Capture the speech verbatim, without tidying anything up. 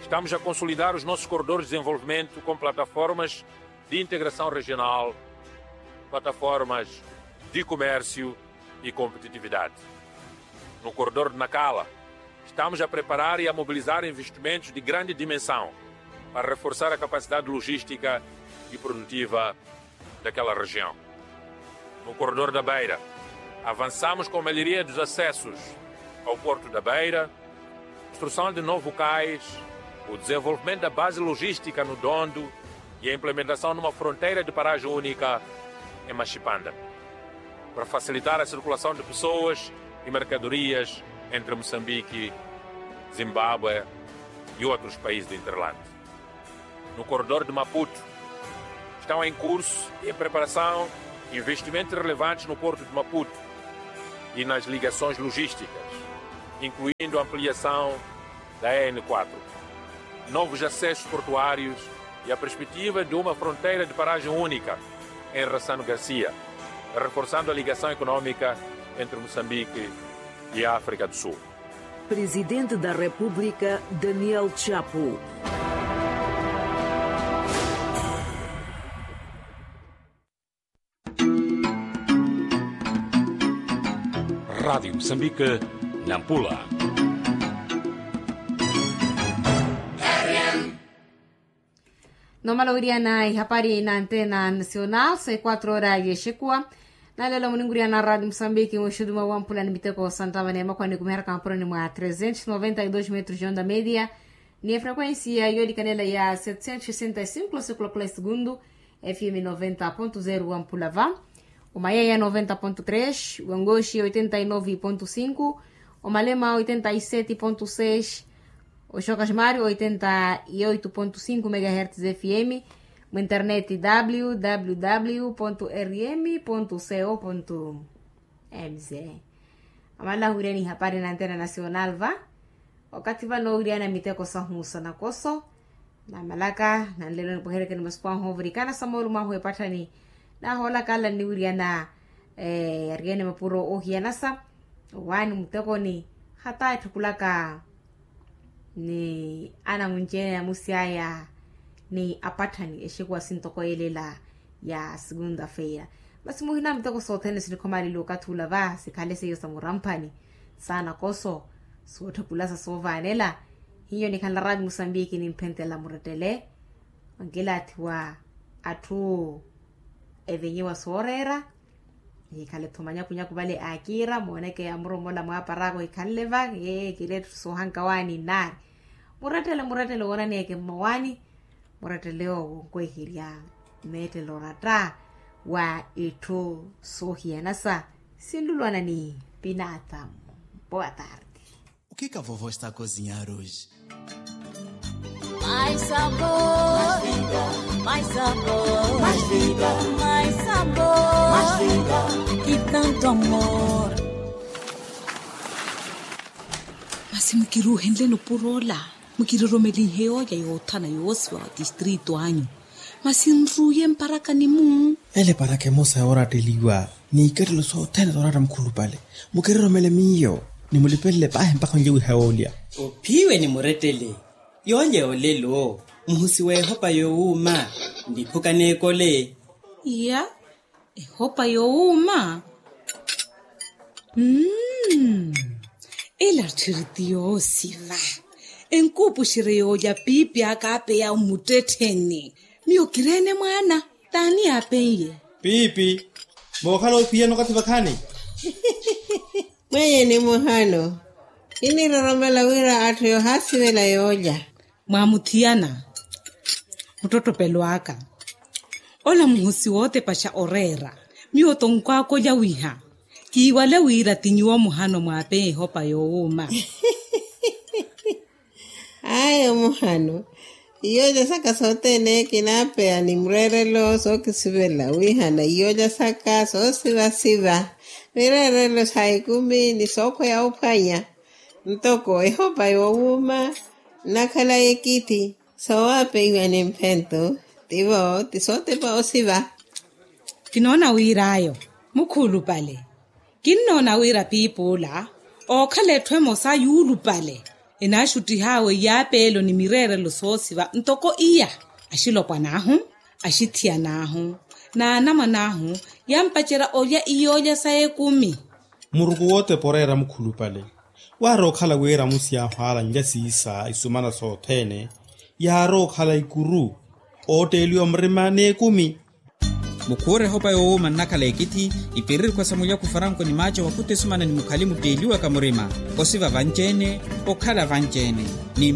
Estamos a consolidar os nossos corredores de desenvolvimento com plataformas de integração regional, plataformas de comércio e competitividade. No corredor de Nacala, estamos a preparar e a mobilizar investimentos de grande dimensão para reforçar a capacidade logística e produtiva daquela região. No corredor da Beira, avançamos com a melhoria dos acessos ao porto da Beira, construção de novo cais, o desenvolvimento da base logística no Dondo e a implementação de uma fronteira de paragem única em Machipanda, para facilitar a circulação de pessoas e mercadorias entre Moçambique, Zimbábue e outros países do hinterland. No corredor de Maputo, estão em curso e em preparação investimentos relevantes no porto de Maputo e nas ligações logísticas, incluindo a ampliação da N quatro, novos acessos portuários e a perspectiva de uma fronteira de paragem única em Rassano Garcia, reforçando a ligação econômica entre Moçambique e a África do Sul. Presidente da República, Daniel Chapo. Rádio Moçambique, Nampula. Nomala wiriana ihapari na antena nacional, sai quatro hora yexekuwa. Nalelo muninguriana radio musambiki muxudu mwa wampula ni miteko santava ni emakwani kumiharaka mapuroni mwa trezentos noventa y dos metros de onda media, ni efrequencia yolikanela ya setecentos sessenta y cinco losikulakola esegundu, fm noventa ponto zero wampula va, omayaya noventa ponto tres, wangoxi oitenta y nove ponto cinco, omalema oitenta y sete ponto seis, oxoka ximari oitenta y oito ponto cinco megahertz fm, mu internet www rm co mz. Amala ahuriyani ihapari na antena nacional va. Okathi vano ohuriyana miteko sahu sa nakoso, namalaka nanlelo nipweherekeni masiku ahu ovurikana sa moolumo ahu epatthani. Nahoolaka ala nniwiriyana yariyene mapuro ohiyanasa, owaani mutekoni, hata etthukulaka ni anamwinci-ene namusi aya, ni apatthani exekuwa sintoko yelela ya segunda feira. Masi muhina miteko sothene sinikhomalile okathi ula va sikhale seiyo sa muramphani, sa nakoso, sootthukulasa soovaanela. Hiyo nikhanla raati musambiki nimphentela murettele, onkilaathi wa atthu evenyiwa sooreera. Nihikhale-tho manyakunyaku vale akiira mooneke amuromola mwaaparaaka ohikhanle va, ee kiri etthu soohanka waani nnaari. Murettele murettele woonaneeke mmawaani. Murettele owo onkweherya meettelo oratta wa itthu soohiyanasa. Sinlulwana ni pinatamu. Boa tarde. O que que a vovó está a cozinhar hoje? Mais sabor, mais sabor, mais vida, mais sabor, mais vida, e tanto amor. Masi mukiruuhenleni opuro ola, mukiroromelihe yoolya yoothana yoosiva wa tistrito anyu. Masi nruuye mparakani-mu. Ele eparaka emosa yooratteliwa n'ikattelo sothene sooratta mukhulupale. Mukiroromele miyo, nimulipelele paahi mpakha onlye wiha yoolya. Ophiiwe ni murettele. Yoolya yoolelo muhusi w'ehopa yoowuuma. Niphuka n'ekole. Iya. Ehopa yoowuuma. Mmm. Ela tthiri ti yoosiva. Enkuupuxerye yoolya piipi aka apeya omuttettheni. Miyo kireene mwaana. T'ani aapen'ye? Piipi. Mookhala ophiyana okathi vakhaani. Mwenye ni muhano. Kiniroromela wira atthu yoohaasivela yoolya. Mwaamuthiyana. Muttottopelo aka. Ola muhosi wootepaxa oreera. Miyo tonkwaakolya wiha kiiwale wira ti nyuwo muhano mwaapeya ehopa yoowuuma. Ayo muhano. Iyoolya saka sothene kinaapeya ni mureerelo sookisivela wihana iyoolya saka soosivasiva. Mireerelo sa ekumi ni sookhweya ophwanya. Ntoko ehopa yoowuuma nnakhala ekithi. Soowapeiwa ni mphento. Tivo ti sootepa osiva. Kinoona wir'ayo mukhulupale. Kinnoona wira piipi ola ookhala etthu emosa yuulupale. Enaaxuttih'awe yaapeelo ni mireerelo soosiva ntoko iya. Axilopwan'ahu, axithiyan'ahu, n'anamwan'ahu, yaampacerya olya iyoolya sa ekumi. Muruku wootepa oreera mukhulupale. Waarookhala wira amusi yaahu aala nlya siisa isumana sothene. Yaarookhala ikuru ootteeliwa murima n'ekumi. Mukhuure ehopa yoowuuma nnakhala ekithi, ipiririkhwa sa mulyaku faranko ni maaca wakhuta esumana ni mukhali mutteeliwaka murima. Osiva vanci-ene, okhala vanci-ene, ni